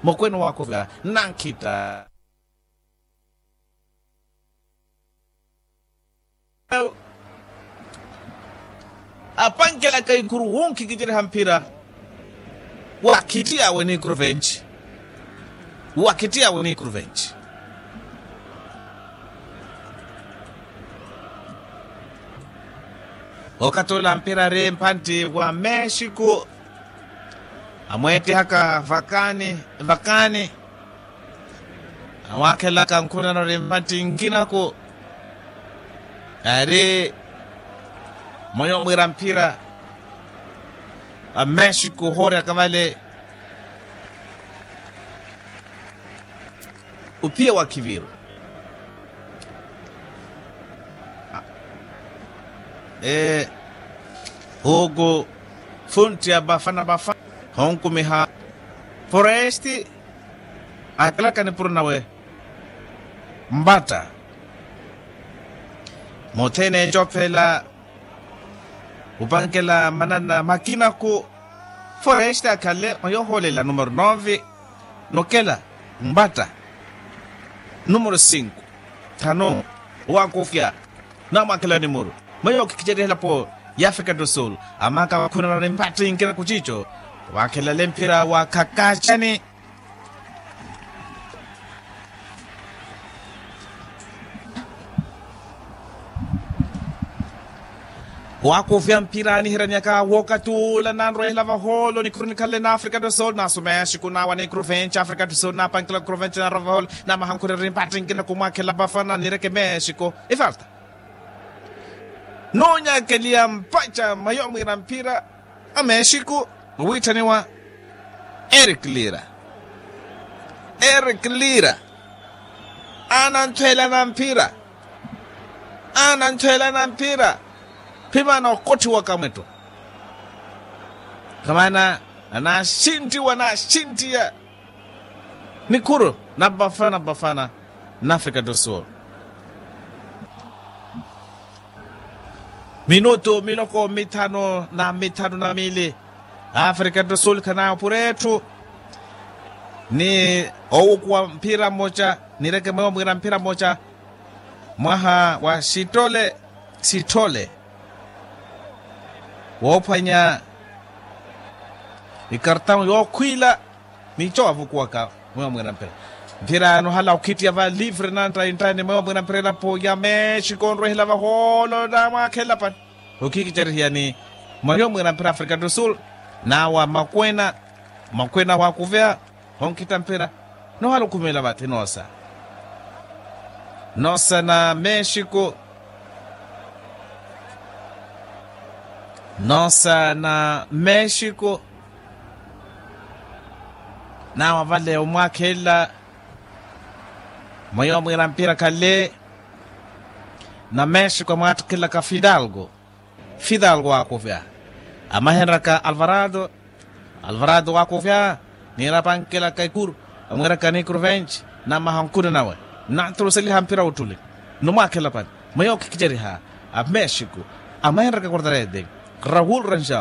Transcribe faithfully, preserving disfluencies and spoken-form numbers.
Mokwena waakuvya nankhita. Apankelaka ikuru wunkhikiceriha mphira. Wakhittiyawe ni kruvenci. Wakhittiyawe ni kruvenci. Okathi ola mphira ari mpantti wa mexico. Amweettihaka vakaani vakaani. Awaakhelaka nkhunano ri mpantti nkinaku. Ari mweyo mwiira mphira a mexico hoorya kavale. Uphiya wa khiviru. Huku funtti ya bafana bafana honkumiha foresti. Akelaka nipuro nawe mbatta. Muthene ecophela upankela manana makinaku. Foresti akhale mwayohoolela numero nove. Nokela mbatta numero sinku thanu. Owakufya namwakhelani muru mweyo okhikicerihela po ya afrika do sul. Amaka wakhunana ni mbatta inkinaku cico. Wakhelale mphira wa khakacani. Waakufya mphira anihiraniyaka wookathi ula nanrwehela vahoolo nikhuru nikhanle na afrika do sul nasu mexico nawa ni kruvenci afrika do sul napankela kruvenci nanrwa vahoolo. Namahankhureri mpattinkina kumwakhela vafana nireke mexico. Ifarta noonyakeliya mpaca mayo mwiira mphira a mexico. Owiitthaniwa eric lira. Eric lira ananthwela na mphira. Ananthwela na mphira phimana okotthiwaka mwetto. Khamana anaxinttiwa anaxinttiya nikhuru na bafana bafana na afrika do sul. Minutu miloko mithanu na mithanu na miili. Afrika do sul khanaya opura etthu ni owukuwa mphira mmoca. Nireke mweyo mwiira mphira mmoca mwaha wa sitole sitole woophwanya ikartawu yookhwiila. Nico wavukuwaka mweyo mwiira mphira mphira anohala okhittiya va livre na nttainttaini mweyo mwiira mphira elapo ya mexico onrwehela vahoolo namwakhelela pani. Okhikicerihiya ni mweyo mwiira mphira afrika do sul nawa makwena makwena wakuveya. Onkhitta mphira nohala okhumela vathi noosa noosa na mexico. Noosa na mexico nawa vale omwakhelela. Mweyo mwiira mphira khale na mexico amwaattikhelaka fidalgo. Fidalgo waakuvya amahenraka alvarado. Alvarado waakuvya niirapankelaka ikuru amwiiraka ni kruvenci namaha nkhuni nawe. Nanturuseliha mphira wutthuli numwaakhela pani mweyo okhikiceriha a mexico amahenraka quartarete raul ranjao.